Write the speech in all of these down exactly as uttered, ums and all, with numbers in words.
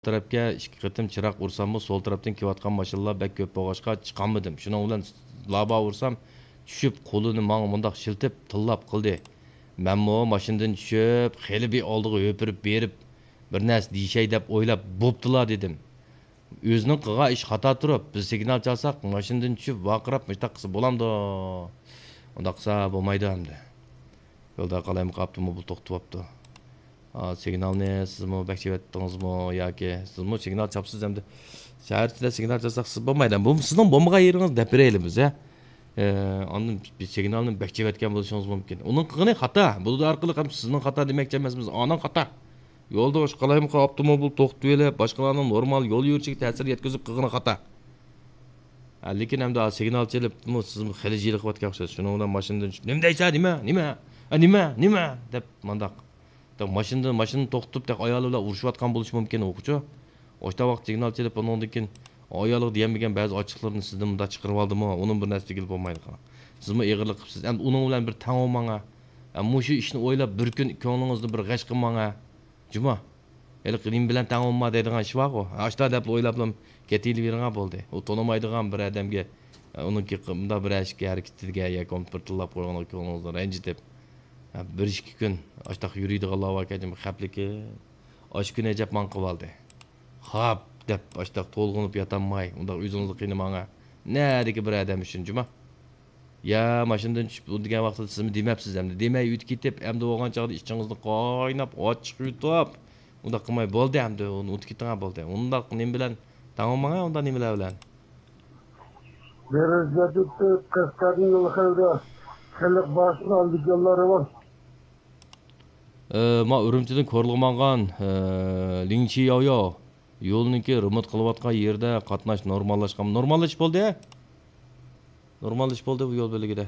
تەرەپكە ئىككى قېتىم چىراغ ئۇرساممۇ، سول تەرەپتىن كېلىۋاتقان ماشىنىلار بەك كۆپ بولغاچقا، چىقالمىدىم. شۇنىڭ بىلەن لابا ئۇرسام، چۈشۈپ، قولىنى ماڭا مۇنداق شىلتىپ، تىللاپ قىلدى. مەنمۇ ماشىنىدىن چۈشۈپ، خېلى بىر ئالدىغا ھۆپۈرۈپ بېرىپ، بىر نەرسە دېيىشەي دەپ ئويلاپ، بوپتۇلا دېدىم. ئۆزىنىڭ قىلغان ئىشى خاتا تۇرۇپ، بىز سىگنال چالساق، ماشىنىدىن چۈشۈپ، ۋارقىراپ، مۇشۇنداق قىلسا بولامدۇ؟ ئۇنداق قىلسا بولمايدۇ ئەمدى. يولدا قالايمىقان ئاپتوموبىل توختىتىۋاپتۇ. ئا، سىگنالنى سىزمۇ بەك چېۋەتتىڭىزمۇ ياكى سىزمۇ سىگنال چاپسىز ئەمدى؟ شەھەر ئىچىدە سىگنال چالساق سىز بولمايدۇ. بۇ سىزنىڭ بولمىغان يېرىڭىز دەپ بېرەيلى بىز، ھە؟ ئە، ئاندىن بىز سىگنالنى بەك چېۋەتكەن بولۇشىڭىز مۇمكىن. ئۇنىڭ قىلغىنى خاتا. بۇ ئارقىلىق ھەم سىزنىڭ خاتا دېمەكچى ئەمەسمىز، ئانىڭ خاتا. يولدا ئاشۇ قالايمىقان ئاپتوموبىل توختىتىۋېلىپ، باشقىلارنىڭ نورمال يول يۈرۈشىگە تەسىر يەتكۈزۈپ قىلغىنى خاتا. ھە، لېكىن ئەمدى سىگنال چېلىپ، بۇ سىزمۇ خېلى جىلىقىۋاتقان ئوخشايسىز. شۇنىڭ بىلەن ماشىنىدىن چۈشۈپ، «نېمە دەيسەن، نېمە؟ نېمە؟ ھە، نېمە؟ نېمە؟» دەپ مانداق. دەپ ماشىنىدىن، ماشىنىنى توختىتىپ، دەپ ئايالى بىلەن ئۇرۇشۇۋاتقان بولۇشى مۇمكىن ئوقۇچۇ. ئوشتا ۋاقىت سىگنال چېلىپ، ئۇنىڭدىن كېيىن ئايالىغا دېيەلمىگەن بەزى ئاچچىقلىرىنى سىزدىن مۇنداق چىقىرىۋالدىمۇ، ئۇنىڭ بىر نەرسە دېگىلى بولمايدىغان. سىزمۇ ئېغىرلىق قىپسىز. ئەمدى ئۇنىڭ بىلەن بىر تەڭ بولماڭا. ئە، مۇشۇ ئىشنى ئويلاپ، بىر كۈن كۆڭلىڭىزنى بىر غەش قىلماڭا. جۇما، ھېلىقى نېمە بىلەن تەڭ بولما دەيدىغان ئىش بارغۇ. ئاشتا دەپلا ئويلاپلا كېتىۋېرىڭا بولدى. ئۇ تونۇمايدىغان بىر ئادەمگە، ئۇنىڭكى مۇنداق بىر ئىشكە ھەرىكىتىگە ياكى بولمىسا بىر تىللاپ قويغانغا كۆڭلىڭىزنى رەنجىتىپ، بىر ئىككى كۈن ئاشتاق يۈرىدىغانلار باركەن، خەپلىكىم. ئاشۇ كۈنى ئەجەب ماڭا قىلىۋالدى. خاپ دەپ ئاشتاق تولغىنىپ ياتالماي، ئۇنداق ئۆزىڭىزنى قىينىماڭا. نەدىكى بىر ئادەم ئۈچۈن جۇما. يا ماشىنىدىن چۈشۈپ ئۇ دېگەن ۋاقتىدا سىزمۇ دېمەپسىز ئەمدى. دېمەي ئۆتۈپ كېتىپ، ئەمدى بولغان چاغدا ئىچىڭىزنى قايناپ، ئاچچىق يۇتۇپ، ئۇنداق قىلماي بولدى ئەمدى، ئۇنى ئۇنتۇپ كېتىڭە بولدى. ئۇنداق نېمە بىلەن تاڭ بولماڭە، ئۇنداق نېمىلەر بىلەن. بىرىنچى نۆۋەتتە قەشقەردىن يول خەۋىرى خەلق باشىنى ئالدى يوللار راۋان. ئە، ما ئۈرۈمچىدىن كورلىغا ماڭغان، ئە، لىڭچى ياۋياۋ يولنىڭكى رېمونت قىلىۋاتقان يېرىدە قاتناش نورماللاشقان. نورماللىشىپ بولدى. نورماللىشىپ بولدى بۇ يول بۆلىكىدە.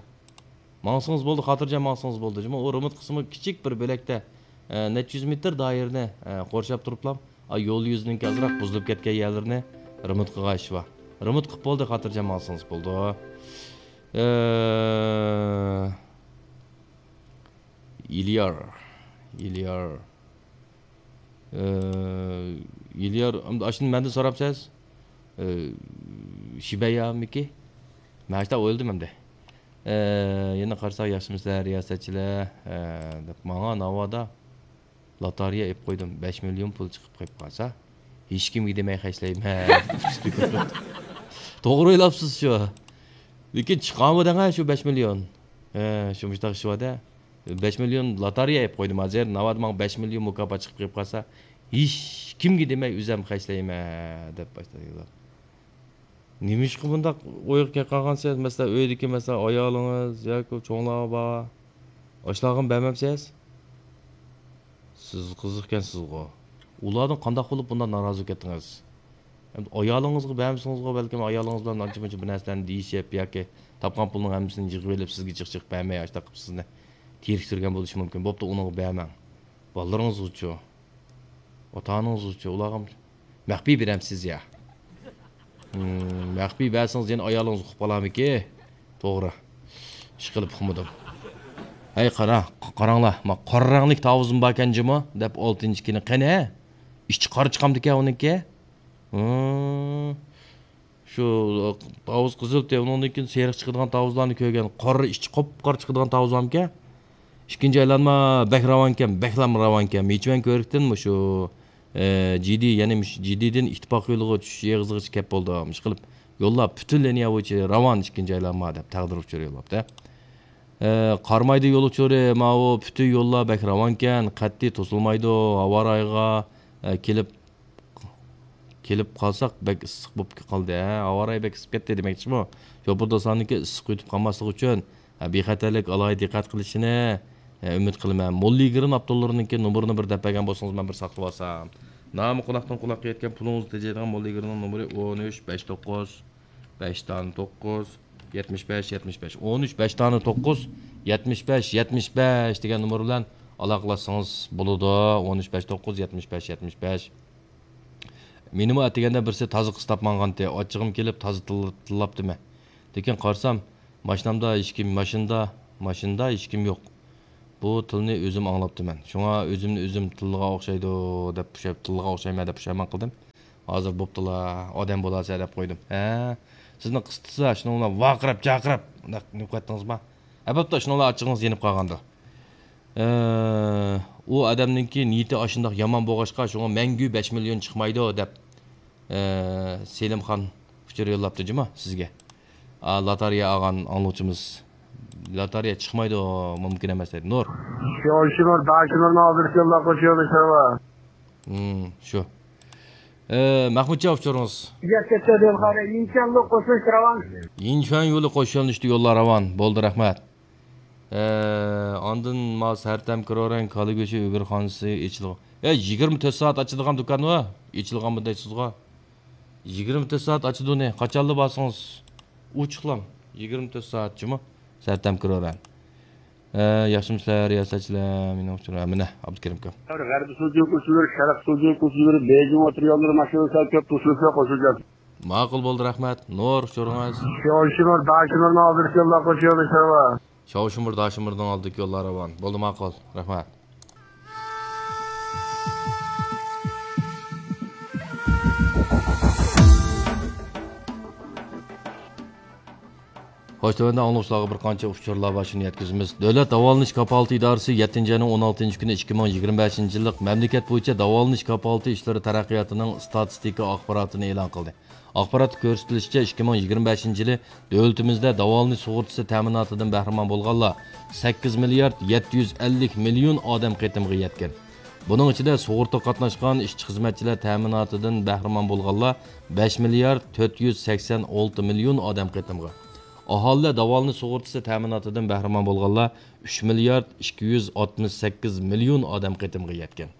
ماڭسىڭىز بولدى، خاتىرجەم ماڭسىڭىز بولدى. جۇمۇ ئۇ رېمونت قىسمى كىچىك بىر بۆلەكتە، ئە، نەچچە يۈز مېتىر دائىرىنى، ئە، قورشاپ تۇرۇپلا، ئا، يول يۈزىنىڭكى ئازراق بۇزۇلۇپ كەتكەن يەرلىرىنى رېمونت قىلغان ئىش بار. رېمونت قىلىپ بولدى، خاتىرجەم ماڭسىڭىز بولدى. ئە، ئىليار، ئىليار، ئە، ئىليار، ئەمدى ئاشۇنى مەندىن سوراپسىز؟ ئە، شىبەيامىكى؟ مەن شۇنداق ئويلىدىم ئەمدى. ئە، يەنە قارىساق، ياخشىمۇسىلەر رىياسەتچىلەر؟ ئە، دەپ ماڭا ناۋادا لاتارىيە ئېلىپ قويدۇم، بەش مىليون پۇل چىقىپ قېلىپ قالسا، ھېچكىمگە دېمەي خەجلەيمەن. توغرا ئويلاپسىز شۇ. لېكىن چىقامدۇ دەڭە شۇ بەش مىليون؟ ھە، شۇ مۇشتاق ئىش بار-دە. بەش مىليون لاتارىيە ئېلىپ قويدۇم ھازىر. ناۋادا ماڭا بەش مىليون مۇكاپات چىقىپ قېلىپ قالسا، ھېچكىمگە دېمەي ئۆزۈم خەجلەيمەن دەپ باشلايدۇ. نېمىشقا بۇنداق ئويغا كەپ قالغانسىز؟ مەسىلەن، ئۆيدىكى، مەسىلەن، ئايالىڭىز ياكى چوڭلار بار. ئاشۇلارغىمۇ بەرمەمسىز؟ سىز قىزىقكەنسىزغۇ. ئۇلاردىن قانداق بولۇپ بۇنداق نارازى بولۇپ كەتتىڭىز؟ ئەمدى ئايالىڭىزغا بەرمىسىڭىزغۇ، بەلكىم ئايالىڭىز بىلەن ئانچە-مۇنچە بىر نەرسىلەرنى دېيىشىپ ياكى تاپقان پۇلنىڭ ھەممىسىنى يىغىۋېلىپ، سىزگە جىق-جىق بەرمەي، ئاشۇنداق قىلىپ سىزنى تېرىكتۈرگەن بولۇشى مۇمكىن. بوپتۇ، ئۇنىڭغا بەرمەڭ. بالىلىرىڭىزغىچۇ؟ ئاتا-ئانىڭىزغىچۇ؟ ئۇلارغا مەخپىي بېرەمسىز يا؟ ھىم، مەخپىي بەرسىڭىز يەنە ئايالىڭىز ئۇقۇپ قالارمىكى؟ توغرا. ئىشقىلىپ ئۇقمىدىم. ھەي، قارا، قاراڭلار، ما قارا رەڭلىك تاۋۇزمۇ باركەن جۇمۇ، دەپ ئالتىنچى كۈنى قېنى؟ ئىچى قارا چىقامدىكەن ئۇنىڭكى؟ ھىم. شۇ تاۋۇز قىزىل تە، ئۇنىڭدىن كېيىن سېرىق چىقىدىغان تاۋۇزلارنى كۆرگەن، قارا ئىچى قاپقارا چىقىدىغان تاۋۇز بارمىكەن؟ ئىككىنچى ئايلانما بەك راۋانكەن، بەكلا راۋانكەن. ھېچ مەن كۆرۈكتىن مۇشۇ، ئە، جىدى، يەنى مۇشۇ جىدىدىن ئىتتىپاق يولىغا چۈشۈش ئېغىزىغىچە كەپ بولدى. ئىشقىلىپ يوللار پۈتۈن لىنىيە بويىچە راۋان ئىككىنچى ئايلانما دەپ تەقدىر ئۇچۇرى يوللاپتۇ. ئە، قارامايدى يول ئۇچۇرى ماۋۇ پۈتۈن يوللار بەك راۋانكەن، قەتئىي توسۇلمايدۇ، ھاۋا رايىغا، ئە، كېلىپ كېلىپ قالساق، بەك ئىسسىق بولۇپ قالدى، ھە؟ ھاۋا رايى بەك ئىسسىپ كەتتى دېمەكچىمۇ؟ شوپۇر دوستلارنىڭكى ئىسسىق يۈتۈپ قالماسلىقى ئۈچۈن، ھە، بىخەتەرلىك ئالاھىدە دىققەت قىلىشىنى، ھە، ئۈمىد قىلىمەن. موللا ئىگىرىن ئاپتوللىرىنىڭكى نومۇرىنى بىر دەپ بەرگەن بولسىڭىز، مەن بىر ساقلىۋالسام. نامى قۇلاقتىن قۇلاققا يەتكەن، پۇلىڭىزنى تېجەيدىغان موللا ئىگىرىنىڭ نومۇرى ئون ئۈچ، بەش توققۇز، بەش دانە توققۇز، يەتمىش بەش، يەتمىش بەش. ئون ئۈچ، بەش دانە توققۇز، يەتمىش بەش، يەتمىش بەش دېگەن نومۇر بىلەن ئالاقىلاشسىڭىز بولىدۇ. ئون ئۈچ، بەش توققۇز، يەتمىش بەش، يەتمىش بەش. مېنىمۇ ئەتىگەندە بىرسى تازا قىستاپ ماڭغانتى، ئاچچىقىم كېلىپ تازا تىل-، تىللاپتىمەن. لېكىن قارىسام، ماشىنامدا ھېچكىم، ماشىنىدا، ماشىنىدا ھېچكىم يوق. بۇ تىلنى ئۆزۈم ئاڭلاپتىمەن. شۇڭا ئۆزۈمنى ئۆزۈم تىلغا ئوخشايدۇ دەپ پۇشاي-، تىلغا ئوخشايمەن دەپ پۇشايمان قىلدىم. ھازىر بوپتۇلا، ئادەم بولارسەن دەپ قويدۇم. ھە، سىزنى قىستىسا، شۇنىڭ بىلەن ۋارقىراپ، جارقىراپ، مۇنداق نېمە قىلىۋەتتىڭىزما؟ ھە، بوپتۇ، شۇنىڭ بىلەن ئاچچىقىڭىز يېنىپ قالغاندۇ. ئە، ئۇ ئادەمنىڭكى نىيىتى ئاشۇنداق يامان بولغاچقا، شۇڭا مەڭگۈ بەش مىليون چىقمايدۇ دەپ، ئە، سېلىمخان ئۇچۇر يوللاپتۇ جۇمۇ سىزگە. ئا، لاتارىيە ئالغان ئاڭلىغۇچىمىز. لاتارىيە چىقمايدۇ، مۇمكىن ئەمەس دەيدۇ. نۇر. شوشىمۇر، داشىمۇرنىڭ ئالدىدىكى يوللار قوشۇيالمىسىلەر. ھىم، شۇ. ئە، مەخمۇتجان ئۇچۇرىڭىز. يەتتە تۆت يول قارا، يىنچەنلۇق قوشۇش راۋان. يىنچۈەن يولى قوشۇلۇشتا يوللار راۋان. بولدى، رەھمەت. ئە، ئاندىن ما سەرتەم كرورەن كالا گۆشى ئۆگرىخانىسى ئېچىلغان. ئە، يىگىرمە تۆت سائەت ئاچىدىغان دۇكانمۇ؟ ئېچىلغانمۇ دەيسىزغۇ؟ يىگىرمە تۆت سائەت ئاچىدۇ نى. قاچانلا بارسىڭىز ئوچۇقلا. يىگىرمە تۆت سائەت جۇمۇ. سەرتەم كرورەن. ئە، ياخشىمۇسىلەر رىياسەتچىلەر؟ مېنىڭ ئۇچۇر، مانا، ئابدۇكېرىم ئاكام. غەربىي سۇجۇ كوچىلىرى، شەرق سۇجۇ كوچىلىرى، بېيجىڭ ئوتتۇرا يوللىرى ماشىنىلار سەل كۆپ توسۇلۇشلار قوشۇلغان. ماقۇل، بولدى، رەھمەت. نۇر، ئۇچۇرىڭىز. شوشىمۇر، داشىمۇرنىڭ ئالدىدىكى يوللار قوشۇلغان. شاۋشىمۇر، داشىمۇردىن ئالدىكى يوللار راۋان. بولدى، ماقۇل. رەھمەت. خوش، تۆۋەندە ئاڭلىغۇچىلارغا بىر قانچە ئۇچۇرلار بار، شۇنى يەتكۈزىمىز. دۆلەت داۋالىنىش كاپالىتى ئىدارىسى يەتتىنچى ئاينىڭ ئون ئالتىنچى كۈنى ئىككى مىڭ يىگىرمە بەشىنچى يىللىق مەملىكەت بويىچە داۋالىنىش كاپالىتى ئىشلىرى تەرەققىياتىنىڭ ستاتىستىكا ئاخباراتىنى ئېلان قىلدى. ئاخباراتتا كۆرسىتىلىشىچە، ئىككى مىڭ يىگىرمە بەشىنچى يىلى دۆلىتىمىزدە داۋالىنىش سۇغۇرتىسى تەمىناتىدىن بەھرىمەن بولغانلار سەككىز مىليارد يەتتە يۈز ئەللىك مىليون ئادەم قېتىمغا يەتكەن. بۇنىڭ ئىچىدە سۇغۇرتىغا قاتناشقان ئىشچى-خىزمەتچىلەر تەمىناتىدىن بەھرىمەن بولغانلار بەش مىليارد تۆت يۈز سەكسەن ئالتە مىليون ئادەم قېتىمغا، ئاھالىلەر داۋالىنىش سۇغۇرتىسى تەمىناتىدىن بەھرىمەن بولغانلار ئۈچ مىليارد ئىككى يۈز ئاتمىش سەككىز مىليون ئادەم قېتىمغا يەتكەن.